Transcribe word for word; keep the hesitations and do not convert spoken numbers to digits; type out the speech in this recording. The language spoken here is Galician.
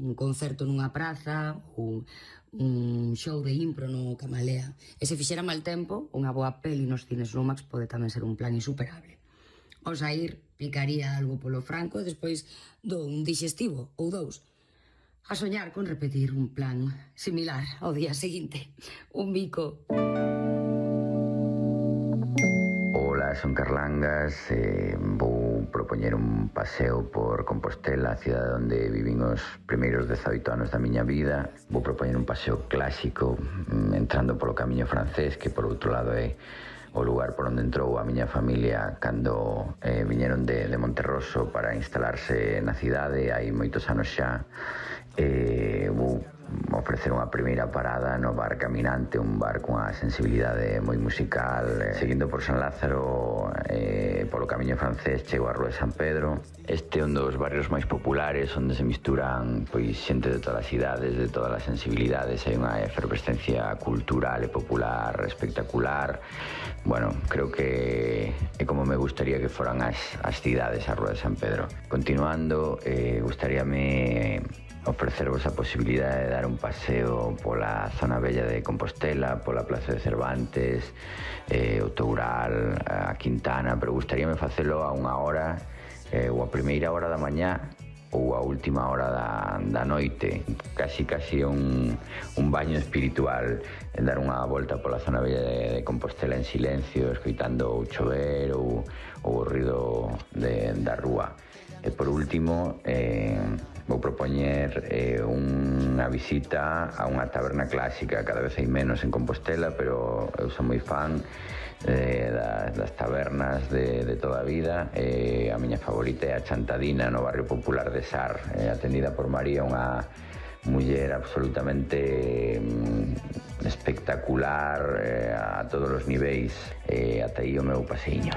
un concerto nunha praza ou un show de impro no Camalea. E se fixera mal tempo, unha boa peli nos cines Lumax pode tamén ser un plan insuperable. Ao saír, picaría algo polo franco e despois do un digestivo ou dous. A soñar con repetir un plan similar ao día seguinte. Un bico. Ola, son Carlangas, eh, vou propoñer un paseo por Compostela, a cidade onde vivín os primeiros dezaoito anos da miña vida. Vou propoñer un paseo clásico, entrando polo camiño francés, que por outro lado é o lugar por onde entrou a miña familia cando eh, viñeron de, de Monterroso para instalarse na cidade, hai moitos anos xa. Eh, vou ofrecer unha primeira parada no bar Caminante, un bar cunha sensibilidade moi musical. Seguindo por San Lázaro, eh, polo camiño francés, chego á Rúa de San Pedro. Este é un dos barrios máis populares, onde se misturan pois xente de todas as idades, de todas as sensibilidades. Hai unha efervescencia cultural e popular espectacular. Bueno, creo que é como me gustaría que foran as, as cidades a Rúa de San Pedro. Continuando, eh, gustaríame ofrecervos a posibilidade de dar un paseo pola zona bella de Compostela, pola Plaza de Cervantes, eh, o Toural, a Quintana, pero gustaríame facelo a unha hora, eh, ou a primeira hora da mañá, ou a última hora da, da noite, casi casi un, un baño espiritual, en dar unha volta pola zona bella de, de Compostela en silencio, escoitando o chover ou, ou o ruido de, da rúa. E por último, eh, vou propoñer eh, unha visita a unha taberna clásica. Cada vez hai menos en Compostela, pero eu son moi fan eh, das, das tabernas de, de toda a vida. Eh, a miña favorita é a Chantadina, no barrio popular de Sar, eh, atendida por María, unha muller absolutamente mm, espectacular eh, a todos os niveis. Eh, ata aí o meu paseiño.